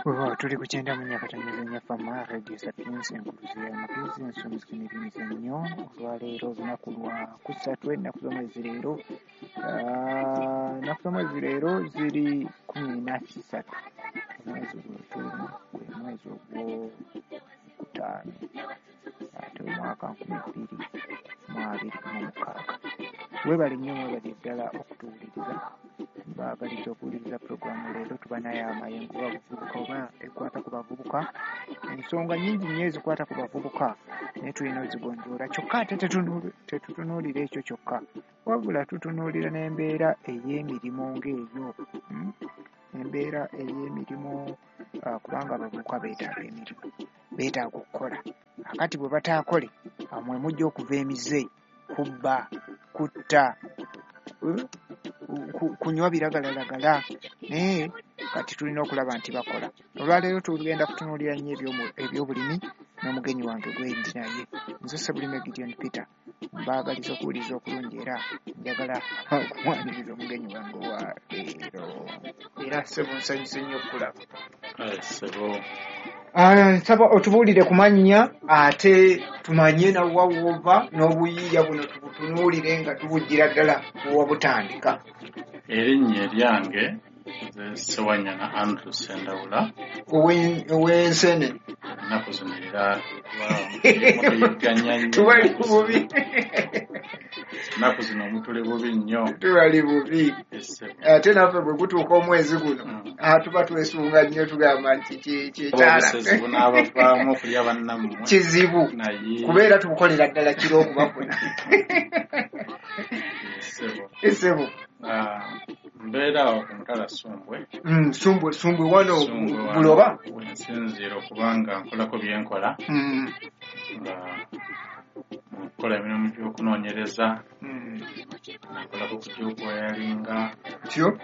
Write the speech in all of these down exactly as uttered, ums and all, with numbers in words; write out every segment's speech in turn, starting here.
Weewaawo, tuli ku kyenda mu nnya akatonyeza nnya Fama Radio Sapiens, enkuluzi y'amagezi, ensomesa n'ebyemizannyo. Olwaleero olunaku lwa kusatu, ennaku z'omwezi leero ah, ennaku z'omwezi leero ziri kumi na ssatu, omwezi gwe tulimu gwe mwezi ogwokutaano, ate omwaka nkumi bbiri mu abiri mu mukaaga. Weebale nnyo, mwebale ddala okutuwuliriza. Mbaagaliza okuwuliriza puroguramu leero. Tuba naye amayengo bavubuka oba ekwata ku bavubuka, ensonga nnyingi nnyo ezikwata ku bavubuka, naye tulina ozigonjoola. Kyokka ate tetunu- tetutunuulira ekyo kyokka, wabula tutunuulira n'embeera ey'emirimu ng'eyo, mm? Embeera ey'emirimu, ah, kubanga abavubuka beetaaga emirimu, beetaaga okukola. Akati bwe bataakole, awo mwe mujja okuva emize, kubba, kutta, eh, ku- kunywa biragalalagala. Naye kati tulina okulaba nti bakola. Olwaleero tugenda kutunuulira nnyo ebyomu- ebyobulimi n'omugenyi wange gwendi naye, nze Ssebulime Gideon Peter. Mbaagaliza okuwuliriza okulungi, era njagala okumwaniriza omugenyi wange owa leero. Era ssebo, nsanyuse nnyo okukulaba. Kale ssebo. Ah, nsaba otubuulire ku mannya, ate tumanye nawa woova n'obuyiiya buno tubutunuulire nga tubuggira ddala wewabutandika. Erinnya eryange nze Ssewanyana Andrew Ssendawula. Owe- ow'ensene Ennaku zino era tuyigganya nnyo. Tubali Ennaku zino. bubi. Ennaku zino mutuli bubi nnyo. Tubali bubi. Ssebo. Ate naffe bwe gutuuka omwezi guno, Mm. ah, tuba twesunga nnyo, tugamba nti ki- kyekyala Obusezi bunaabavaamu okulya bannammwe. Kizibu. Naye kubeera tubukolera ddala kiro okubafuna. Ssebo. Esebo. Ah, mbeera awo ku mutala Ssumbwe. Mm, sumbwe Sumbwe wano. Ssumbwe wano Buloba. Wensinziira okubanga nkolako bye nkola, Mm, nga nkola emirimu gy'okunoonyereza, mm. nkolako ku gy'okwayalinga, Tyo.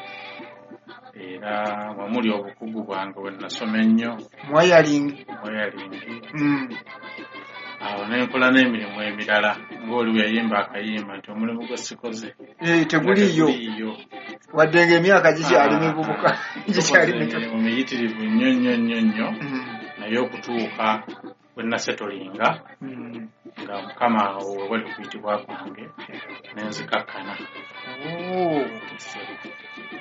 era wamuli obukugu bwange bwe nasoma ennyo. Mwayalingi. Wayalingi. Mm. Awo ne nkola n'emirimu emirala, ng'oli bwe yayimba akayimba nti omulimu gwe sikoze Eh, teguliiyo. Teguliiyo. Wadde ng'emyaka gikyali Ah, mivubuka, ah. gikyali Tukoze mito. emirimu miyitirivu nnyo nnyo nnyo nnyo, Mm, naye okutuuka bwe nasetolinga mm. nga Mukama awo we wali okuyitibwa kwange ne nzikakkana. Oh,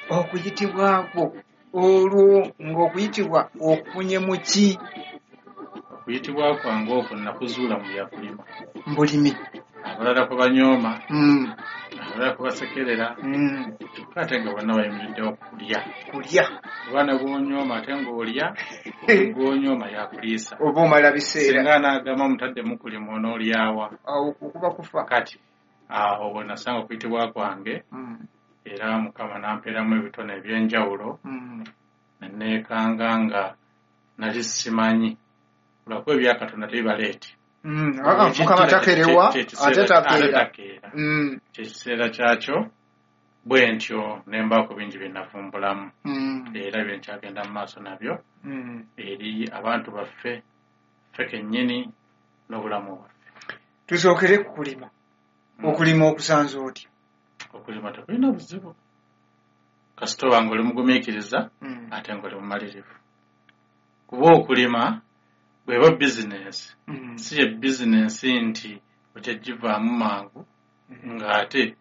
okuyitibwa kwo olwo ng'okuyitibwa okufunye mu ki? Okuyitibwa kwange okwo nakuzuula mu byakulima. Mbulimi. Abalala kwe banyooma, Mm, abalala kwe basekerera, mm. kyokka ate nga bonna bayimiriddewo kulya. Kulya. Kuba ne gw'onyooma ate ng'olya, gw'onyooma yakuliisa. Oba omala biseera. Singa anaagamba mutaddemu kulima, onoolyawa? Awo kuba kufa. Kati awo we nasanga okuyitibwa kwange, Mm, era Mukama n'ampeeramu ebitone eby'enjawulo, mm. ne neekanga nga nali simanyi, lwakuba ebya Katonda tebibaleete. Mm, ah, ah, Mukama takerewa ate takeera. Takeera. Mm, Kyekiseera kyakyo bwe ntyo ne mbaako bingi bye navumbulamu, mm, era bye nkyagenda mu maaso nabyo mm. eri abantu baffe, ffe kennyini n'obulamu bwaffe. Tusookere ku kulima. Mm. Okulima okusanze otya? Okulima tekulina buzibu kasita oba ng'oli mugumiikiriza Mm, ate ng'oli mumalirivu, kuba okulima bw'eba bizinensi, mm, si ye bizinensi nti okyagivaamu mangu, mm. ng'ate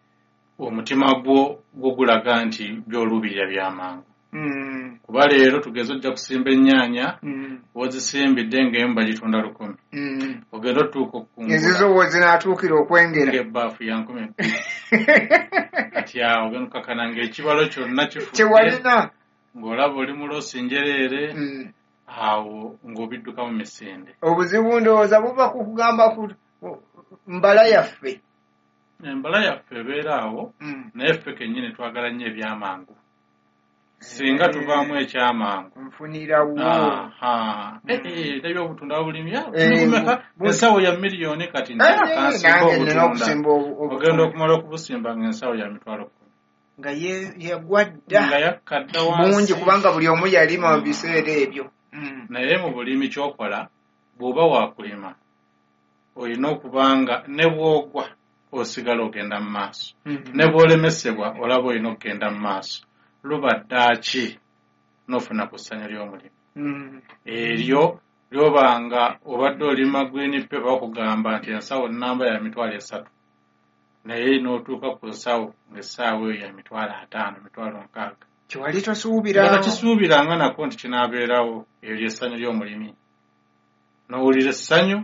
omutima gwo gwo gulaga nti by'oluubirira bya mangu. Mm, Kuba leero tugeze ojja kusimba ennyaanya, mm, w'ozisimbidde ng'emu bagitunda lukumi, mm. ogenda otuuka okukungula Ezizo we zinaatuukira okwengera. Ng'ebbaafu ya nkumi bbiri. Kati awo ogenda okukakana ng'ekibalo kyonna kifudde, Kyewalina. ng'olaba oli mu loosi njereere. Mm. Awo ng'obidduka mu misinde. Obuzibu ndowooza buva ku kugamba ku mbala yaffe. Embala yaffe ebeera awo, Mm. naye ffe kennyini twagala nnyo ebyamangu. Singa tuvaamu ekyamangu, Nfunirawo. Aha. Mm. Eh, eh, ndabye obutunda bulimi. Ah, Eh, bumeka? bu- Ensawo ya miliyoni kati Eh, eh, nkansimba nange nina obutunda. okusimba obu- Ogenda obutunda. okumala okubusimba ng'ensawo ya mitwalo kkumi. Nga ye- yagwa dda. Nga yakka dda Bungi, wansi. kubanga buli omu yalima mu Mm. biseera ebyo. Mm. Naye mu bulimi ky'okola, bw'oba waakulima, olina okuba nga ne bw'ogwa osigala ogenda mu maaso. Mm. Ne bw'olemesebwa olaba olina okugenda mu maaso. Luba ddaaki n'ofuna ku ssanyu ly'omulimu. Mm. Eryo lyobanga obadde olima green pepper, bakugamba nti ensawo namba ya mitwalo esatu, naye n'otuuka ku nsawo ng'essaawa eyo ya mitwalo ataano, mitwalo nkaaga. Kyewali tosuubira. Nga takisuubiranga nako nti kinaabeerawo. Eryo ly'essanyu ly'omulimi, n'owulira essanyu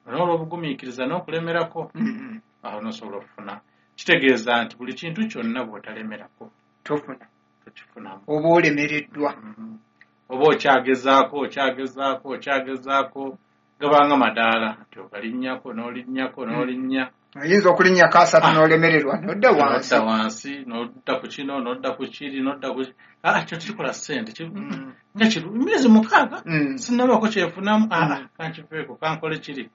n'olwobugumiikiriza n'okulemerako. Mm. Awo n'osobola okufuna. Kitegeeza nti buli kintu kyonna bw'otalemerako tofuna, tokifunamu. Oba olemereddwa. Mhm. Oba okyagezaako, okyagezaako, okyagezaako, gabanga madaala nti ogalinnyako n'olinnyako n'olinnya. Oyinza okulinnyako asatu Ah. n'olemererwa n'odda wansi. N'odda wansi, n'odda ku kino, n'odda ku kiri, n'odda ku, ah, kyo kikola ssente. ki- Mm. Nga kiru emyezi mukaaga Mm. sinnabaako kyefunamu. Mm. Ah, kankiveeko, kankole kiri.